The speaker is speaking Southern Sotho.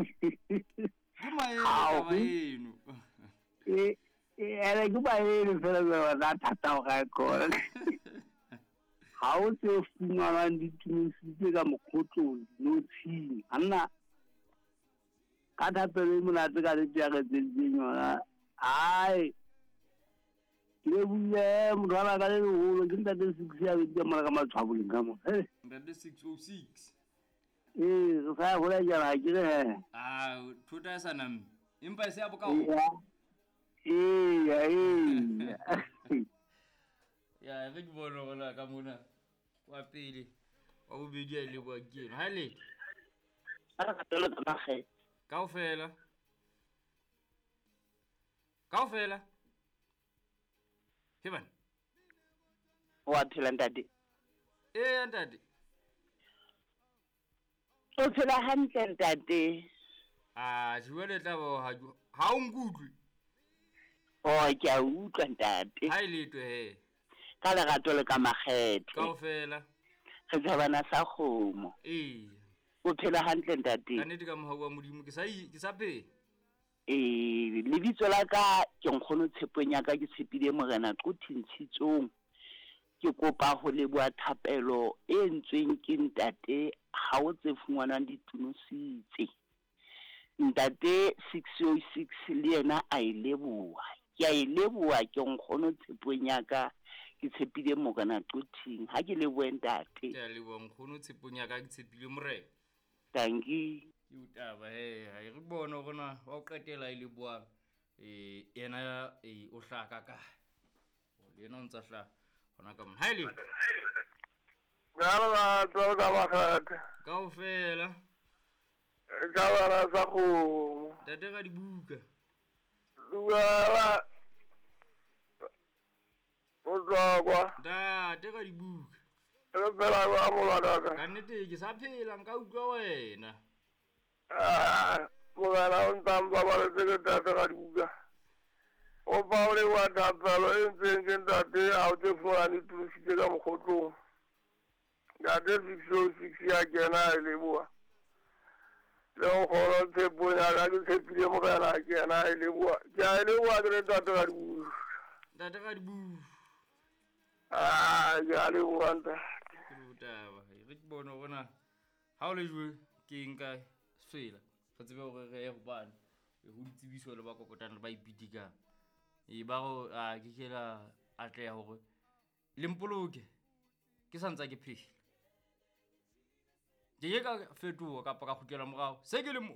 Ke maele taba eno. E ene ke maele fela jwa ba thata go ga kona. Ga o tse fumanwang di tumisitse ka mokgotlong dinotshing. Anna ka thapelo e monate ka letse ya re tseditseng yona. Ai ke lebohile motho wa ka le leholo ke ntate 6 ya bedi ka mona ka matshwaboleng ka mona. Ntate 606. Ee, re sa ya hola jana ke re he. Ah, thota e sa namme. Empa e se ya bokao. Ee, ee. Ya, re ke bone hore ka mona wa pele wa bobedi a ile bua ke eno. Ha le. Kaofela. Kaofela. He bana. Wa phela ntate. Ee ntate. O phela hantle ntate. Ah, jwale tla ba ha o nkutlwe. Oh, ke a utlwa ntate. Ha ile twe he. Ka lerato le ka makgethe. Kaofela. Re thabana sa kgomo. Ee. O phela hantle ntate. Ka nnete ka mohau wa Modimo ke sa ke sa phela. Ee, lebitso la ka ke nkgono tshepong ya ka ke tshepile Morena Qothintshitsong. Ke kopa ho leboha thapelo e entsweng ke ntate ha o tse fungwanang ditunositse. Ntate 606 le yena a e leboha. Ke a e leboha ke nkgono tshepong ya ka ke tshepile Morena Qothing. Ha ke lebohe ntate. Ke a leboha nkgono tshepong ya ka ke tshepile Morena. Tanki. Ke utaba he, ha re bone hore na wa o qetela e lebohang. Yena o hlaka ka. Le yena o ntsa hlaha hona ka mona. Ha ile. Ka tsa ka makgethe. Kaofela. Ka bara sa kgomo. Ntate ka dibuka. Duela. O tswa. Ntate ka dibuka. Re phela kwa molwana. Ka nnete ke sa phela nka utlwa wena. Ah, morena o ntsa mpabaletse ke ntate ka dibuka. O pa o le wa thapelo e ntseng ke ntate a o tse fumana ditunositse ka mokgotlong. Ntate 606 ya kena e leboha. Le nkgono tshepong ya ka ke tshepile Morena a kena e leboha. Ke a e leboha ke le ntate ka dibuka. Ntate ka dibuka. Ah, ke a leboha ntate. Ke botaba. Re ke bone hore na ha o le jwe ke nka sefela. Re tsebe hore re ye hobane ho ditsebiso le ba kokotang le ba ipitikang. E ba go a ke ke la atleha hore le mpoloke ke sa ntsa ke phela. Ke ke ka fetoha kapa ka kgutlela morao. Se ke le mo.